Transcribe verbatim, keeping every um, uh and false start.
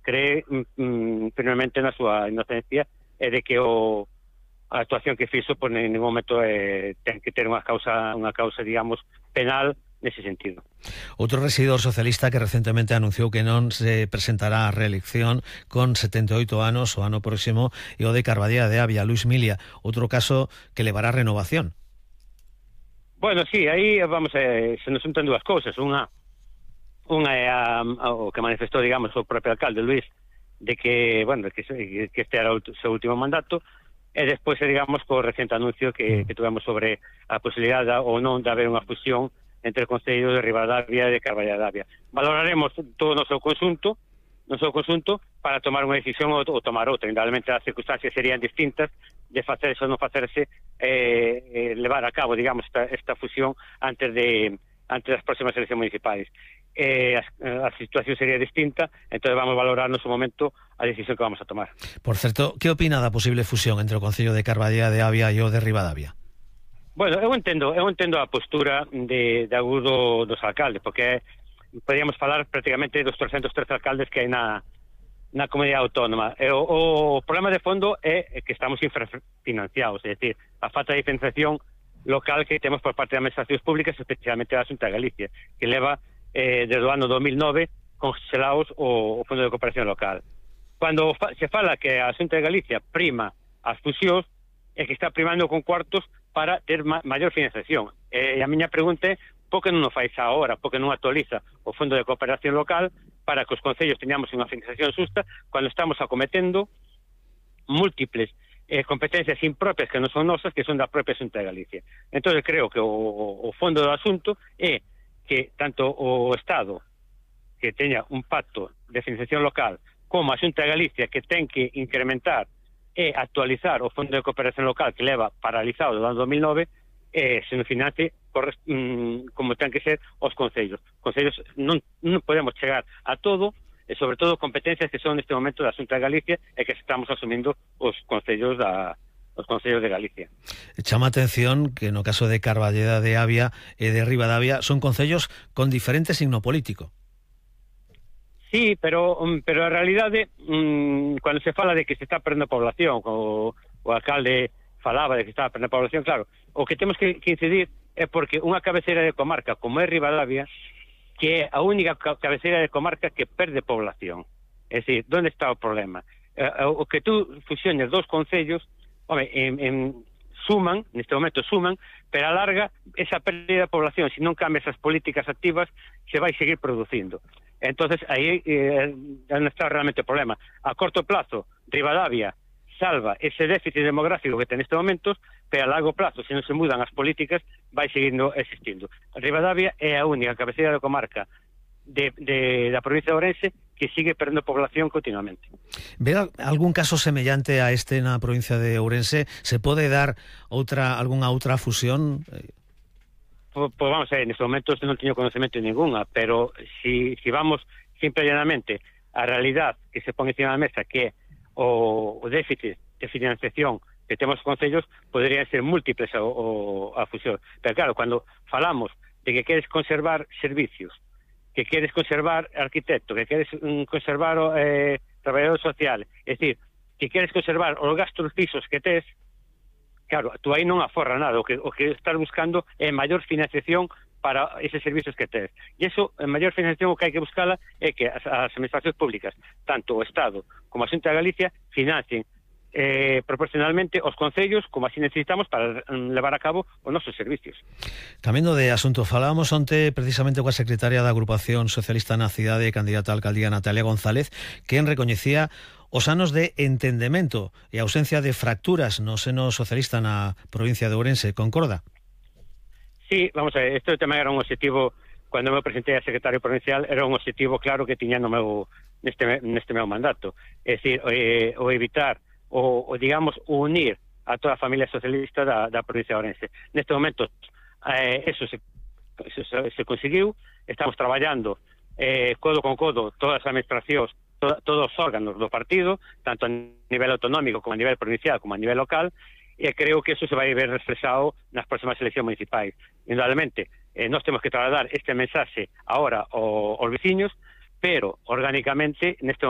cree mm, firmemente na súa inocencia e de que o a actuación que fixo por en ningún momento eh, ten que ter unha causa, unha causa, digamos, penal nese sentido. Outro rexedor socialista que recentemente anunciou que non se presentará a reelección con setenta e oito anos o ano próximo e o de Carballeda de Avia, Luis Milia, outro caso que levará a renovación. Bueno, sí, aí vamos eh, se nos juntan dúas cousas. Unha unha é a, a, o que manifestou, digamos, o propio alcalde Luis, de que, bueno, que, que este era o seu último mandato, e despois, digamos, co recente anuncio que, que tuvemos sobre a posibilidade ou non de haber unha fusión entre o Concello de Ribadavia e de Carballeda de Avia. Valoraremos todo no seu conxunto, no seu conxunto, para tomar unha decisión ou, ou tomar outra. Indudablemente as circunstancias serían distintas de facerse ou non facerse, eh, eh, levar a cabo, digamos, esta, esta fusión antes de antes das próximas eleccións municipais. Eh, a, a situación sería distinta, entón vamos a valorar no seu momento a decisión que vamos a tomar. Por certo, que opina da posible fusión entre o Concello de Carballeda de Avia e o de Ribadavia? Bueno, eu entendo, eu entendo a postura de, de agudo dos alcaldes, porque podríamos falar prácticamente dos trescentos trece alcaldes que hai na, na comunidade autónoma. E o, o problema de fondo é que estamos infrafinanciados, é dicir, a falta de financiación local que temos por parte das administracións públicas, especialmente da Xunta de Galicia, que leva eh, desde o ano dos mil nove congelados o, o Fondo de Cooperación Local. Cando fa, se fala que a Xunta de Galicia prima as fusións, é que está primando con cuartos para ter ma maior financiación. E a miña pregunta é por que non o fais agora, por que non actualiza o Fondo de Cooperación Local para que os concellos teñamos unha financiación xusta cando estamos acometendo múltiples eh, competencias impropias que non son nosas, que son da propia Xunta de Galicia. Entón, creo que o, o fondo do asunto é que tanto o Estado, que teña un pacto de financiación local, como a Xunta de Galicia, que ten que incrementar e actualizar o Fondo de Cooperación Local que leva paralizado do ano dos mil nove, eh, se non financie mm, como ten que ser os concellos. Os concellos non, non podemos chegar a todo, e sobre todo competencias que son neste momento da Xunta de Galicia e que estamos asumindo os concellos da os concellos de Galicia. Chama a atención que no caso de Carballeda de Avia e de Ribadavia son concellos con diferente signo político. Sí, pero pero a realidade, mmm, cando se fala de que se está perdendo población, o, o alcalde falaba de que estaba perdendo población, claro, o que temos que, que incidir é porque unha cabeceira de comarca como é Ribadavia, que é a única cabeceira de comarca que perde población. É dicir, onde está o problema? Eh, o que tú fusiones dos concellos, home, en, en suman, neste momento suman, pero a larga esa pérdida de población, se non cambia esas políticas activas, se vai seguir producindo. Entonces aí eh, non está realmente o problema. A corto plazo, Ribadavia salva ese déficit demográfico que ten neste momento, pero a largo plazo, se non se mudan as políticas, vai seguindo existindo. Ribadavia é a única cabeceira de comarca de, de, da provincia de Ourense que sigue perdendo población continuamente. Ve algún caso semellante a este na provincia de Ourense? Se pode dar outra algunha outra fusión? Pois pues vamos a ver, neste momento non teño conocemento de ninguna, pero si, si vamos simple e llanamente a realidad que se pon encima da mesa, que o, o déficit de financiación que temos os concellos, poderían ser múltiples a, o, a fusión. Pero claro, cando falamos de que queres conservar servicios, que queres conservar arquitecto, que queres um, conservar eh, traballador social, é dicir, que queres conservar os gastos fixos que tes, claro, tú aí non aforra nada, o que, o que estás buscando é maior financiación para eses servicios que tes. E iso, a maior financiación, o que hai que buscala é que as, as administracións públicas, tanto o Estado como a Xunta de Galicia, financien eh, proporcionalmente os concellos como así necesitamos para mm, levar a cabo os nosos servicios. Cambiando de asunto, falábamos onte precisamente coa secretaria da Agrupación Socialista na cidade e candidata a alcaldía Natalia González, quen recoñecía os anos de entendemento e a ausencia de fracturas no seno socialista na provincia de Ourense. Concorda? Sí, vamos a ver, este tema era un objetivo, cando me presenté a secretario provincial, era un objetivo claro que tiña no meu, neste, neste meu mandato. É dicir, eh, o evitar, o, o digamos, unir a toda a familia socialista da, da provincia de Ourense. Neste momento, eh, eso, se, eso se, se conseguiu, estamos traballando eh, codo con codo todas as administracións, todos os órganos do partido, tanto a nivel autonómico como a nivel provincial como a nivel local, e creo que eso se vai ver reflexado nas próximas eleccións municipais. Indudablemente, eh, nós temos que trasladar este mensaxe ahora aos veciños, pero orgánicamente neste